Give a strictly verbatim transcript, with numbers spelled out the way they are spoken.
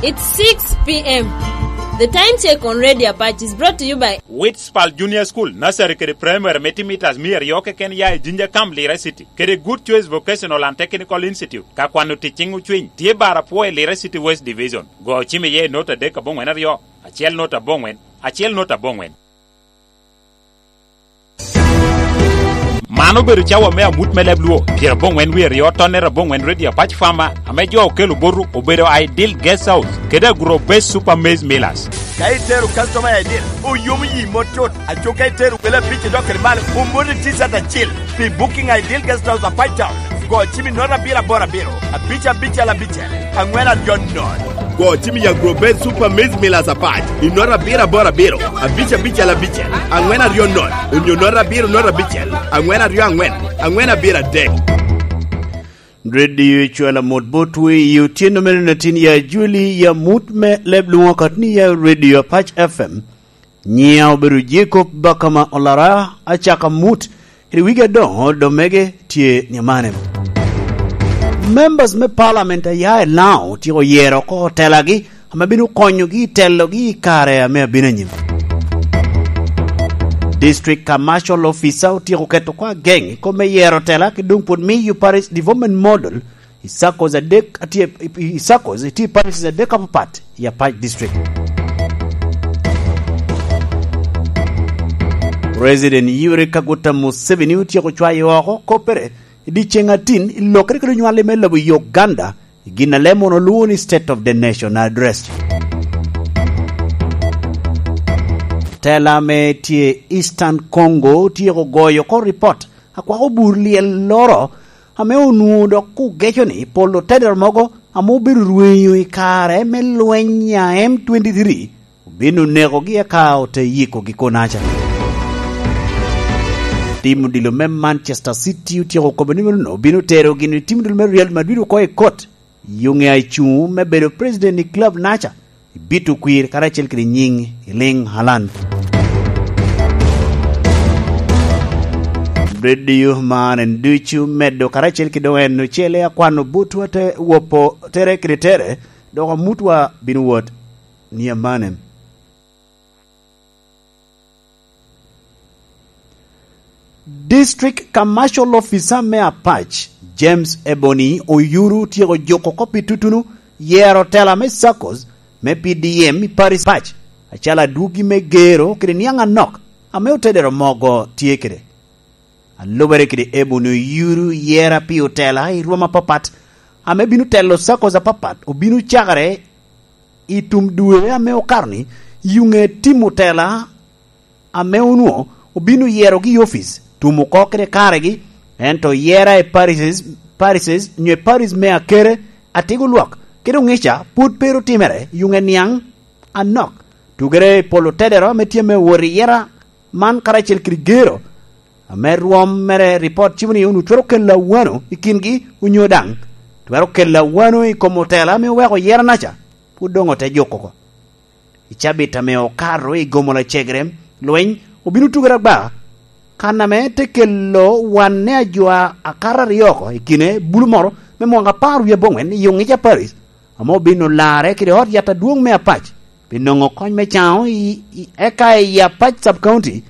It's six p.m. The time check on Radio Apache is brought to you by Witspal Junior School, Nursery kede Primary me timo mitas mia aryo keken ya i Jinja Camp, Lira City, kede Good Choice Vocational and Technical Institute, ka kwano tic ciŋ ocwiny, tye bar apwo i Lira City West Division. Go ocim iye i nota adek aboŋwen aryo, acel nota aboŋwen, acel nota aboŋwen. Man obedo cawa me amut me leb Luo, pyeraboŋwen wie aryo, tonnere aboŋwen, Radio Apac Farmer, ame jo okelo boto obedo Ideal Guest House kede Agro Best Super Maize Millers. Ka itero customer i Ideal, oyomo yi mot cut. Aco ka itero wele abic idok kede malo, omoti T-shirt acil pi Booking Ideal Guest House, Apac Town. Go cim i nota abiro aboro abiro, abic abicel abicel, aŋwen aryo nono. Go cim i Agro Best Super Maize Millers Apac i nota abiro aboro abiro, abic abicel abicel, aŋwen aryo nono, onyo nota abiro nota abicel, aŋwen aryo aŋwen, aŋwen abiro adek. Radio Cwela Mot Botwe i otyeno mene natin ya Juli ya mut me leb Luŋo Katni ya Radio Apac F M. Nyiŋa obedo Jacob Bakama Olara, acaka mut, kede wigi adoŋo domege tye ni amane. Members me Parliament a ya i Laŋo otyeko yero oko otelagi ame bino konyogi i telogi i kare ame abino anyim. District Commercial Officer otyeko keto oko ageŋ i kop me yero otela, ki doŋ pwod miyo Parish Development Model i circles adek atye, i circles itye i parishes adek apapat i Apac District. President Yoweri Kaguta Museveni otyeko cwayo oko koppere i dyeceŋ atin i lokere kede onywali me lobo Uganda, i gin a leb munu olwoŋo ni State of the Nation Address. Tela ame tye Eastern Congo otyeko goyo oko ripot akwako bur lyel loro ame onwoŋo dok ogeco ni pol otedero mogo ame obedo rwenyo i kare me lweny a M twenty-three obino nekogi eka ote yikogi konaca. Tim odilo me Manchester City otyeko kobo ni meno obino tero gin i tim odilo me Real Madrid oko i kot. Yuŋe a icuŋ me bedo president i club naca, ibito kwir karacel kede nyiŋ i liŋ Haaland. Radio man en ducu medo karacel kede doŋ en ocele akwano butwa te wopo tere kede tere, dok amutwa bino wot ni amanem. District Commercial Officer me Apac, James Ebony Oyuru, otyeko juko oko pi tutunu yero tela me circles me P D M i Paris Apac, acalo adwogi me gero kede niaŋ anok ame otedero mogo tye kede. A lubere kede Ebony Oyuru, yera pi otela i rwom apapat ame bino telo circles apapat obino cakere i tum dwe ame okato-ni. Yuŋe tim otela ame onwoŋo obino yerogi i opic, tum oko kede karegi, ento yera i parishes, parishes, nyo i parish me Akere, Atigo Lwak, kede Oŋica pwod pe ru timere, yuŋe niaŋ anok. Tugere i polo tedero ame tye me wot i yera man karacel kede gero, ame rwom mere ripot cibo ni onwoŋo twero kelo awano i kingi onyo daŋ twero kelo awano i kom otela ame oweko yera naca, pwod doŋ ote juko oko. I cabit ame okato i gomo lacegere, lweny obino tugere agba, kan ame te kelo wanne ajo akato aryo oko i kine bulu moro me mwaka apar wie aboŋwen i Oŋica Parish, ame obino larre kede ot yat adwoŋ me Apac, pi nwoŋo kony me caŋo i, i, eka i Apac Sub-County,